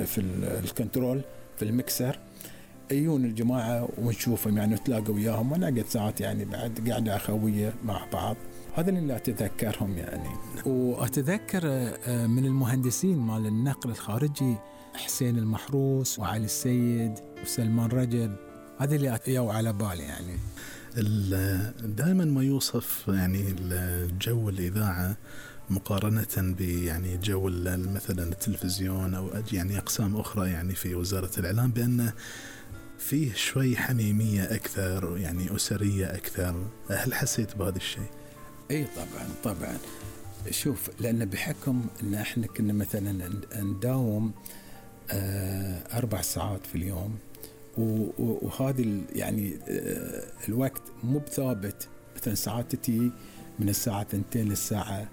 في الكنترول في المكسر، يجون الجماعة ونشوفهم يعني نتلاقى وياهم، وانا قد ساعات يعني بعد قاعدة أخوية مع بعض. هذا اللي أتذكرهم يعني. وأتذكر من المهندسين مال النقل الخارجي حسين المحروس وعلي السيد وسلمان رجب، هذا اللي أتيوا على بالي يعني. دائما ما يوصف يعني الجو الإذاعة مقارنة يعني جو مثلا التلفزيون أو يعني أقسام أخرى يعني في وزارة الإعلام، بأنه فيه شوي حميمية أكثر يعني أسرية أكثر. هل حسيت بهذا الشيء؟ اي طبعا. شوف، لأن بحكم ان احنا كنا مثلا نداوم 4 ساعات في اليوم، وهذه يعني الوقت مو بثابت. مثلا ساعات تتي من الساعة 2 للساعة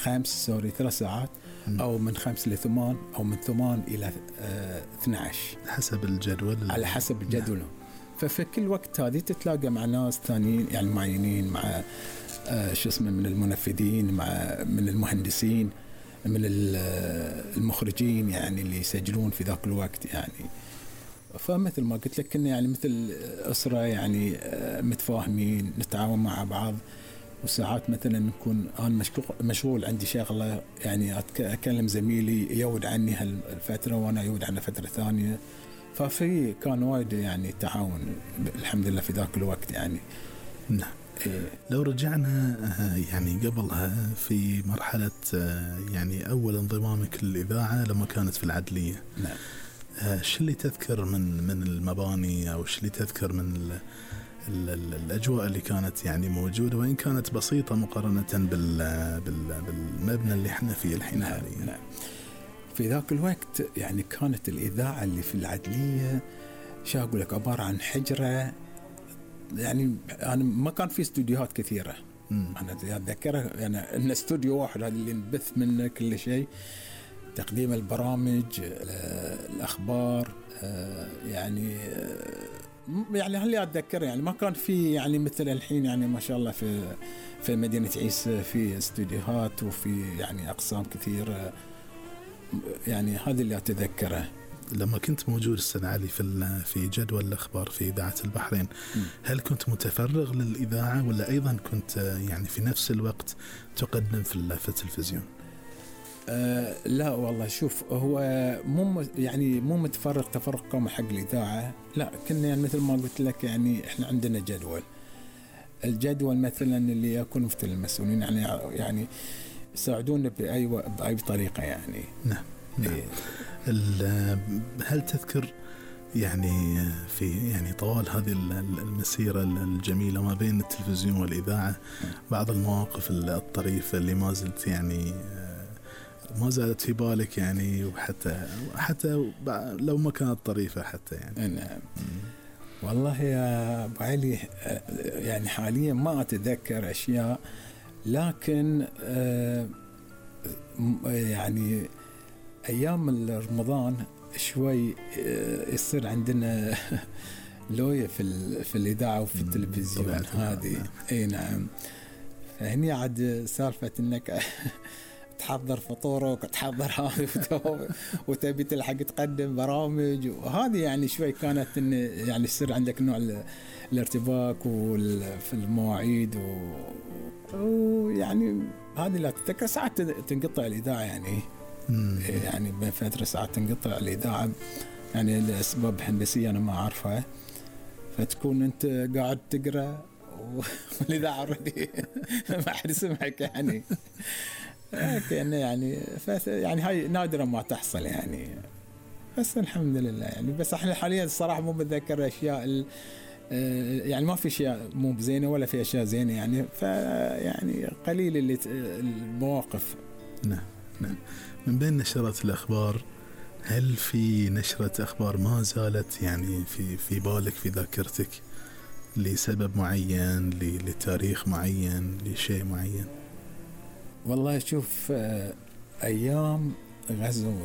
3 ساعات، أو من 5 ل 8، أو من 8 إلى 12 حسب الجدول، على حسب الجدول. ففي كل وقت هذه تتلاقى مع ناس ثانيين يعني معينين، مع من المنفذين، من المهندسين، من المخرجين يعني اللي يسجلون في ذاك الوقت يعني. فمثل ما قلت لك كنا يعني مثل أسرة يعني متفاهمين، نتعاون مع بعض. وساعات مثلا نكون أنا مشغول عندي شغلة يعني أكلم زميلي يود عني هالفترة وأنا يود عنه فترة ثانية. ففي كان وايد يعني تعاون الحمد لله في ذاك الوقت يعني. نعم. لو رجعنا يعني قبلها في مرحلة يعني أول انضمامك للإذاعة لما كانت في العدلية. نعم. شو اللي تذكر من المباني، أو شو اللي تذكر من الأجواء اللي كانت يعني موجودة، وإن كانت بسيطة مقارنة بالمبنى اللي احنا فيه الحين حاليا؟ نعم. في ذاك الوقت يعني كانت الإذاعة اللي في العدلية شو أقول لك عبارة عن حجرة يعني. أنا ما كان في استوديوهات كثيرة. أنا أتذكرها يعني إن استوديو واحد هذا اللي نبث منه كل شيء، تقديم البرامج، الأخبار يعني هل أتذكر يعني ما كان في يعني مثل الحين يعني ما شاء الله في مدينة عيسى في استوديوهات وفي يعني أقسام كثيرة يعني. هذا اللي أتذكره. لما كنت موجود أستاذ علي في جدول الأخبار في إذاعة البحرين، هل كنت متفرغ للإذاعة ولا أيضا كنت يعني في نفس الوقت تقدم في التلفزيون؟ لا والله، شوف هو مو متفرغ تفرغ كامل حق الإذاعة، لا كنا يعني مثل ما قلت لك يعني إحنا عندنا الجدول مثلا اللي يكون مثل المسؤولين يعني يساعدونا بأي طريقة يعني. نعم. إيه. هل تذكر يعني في يعني طوال هذه المسيرة الجميلة ما بين التلفزيون والإذاعة بعض المواقف الطريفة اللي ما زلت يعني ما زالت في بالك يعني، وحتى لو ما كانت طريفة حتى يعني؟ نعم. والله يا أبو علي يعني حاليا ما أتذكر أشياء، لكن يعني أيام رمضان شوي يصير عندنا لوية في الإذاعة وفي التلفزيون هذه. أي نعم. فهني عاد سالفة إنك تحضر فطورك وتحضر هذه وتبي تلحق تقدم برامج، وهذه يعني شوي كانت إن يعني يصير عندك نوع الارتباك في المواعيد ويعني هذه لا تتذكر. ساعات تنقطع الإذاعة يعني. يعني بين فترة ساعات تنقطع الإذاعة يعني لأسباب هندسية أنا ما أعرفها، فتكون أنت قاعد تقرأ والإذاعة ردي ما حد يسمعك يعني. كأنه يعني هاي نادرة ما تحصل يعني، بس الحمد لله يعني. بس احنا حاليا الصراحة مو بتذكر أشياء يعني ما في أشياء مو بزينة ولا في أشياء زينة يعني، فيعني قليل اللي المواقف. نعم. من بين نشرات الأخبار، هل في نشرة أخبار ما زالت يعني في بالك في ذاكرتك لسبب معين، لتاريخ معين، لشيء معين؟ والله شوف، أيام غزو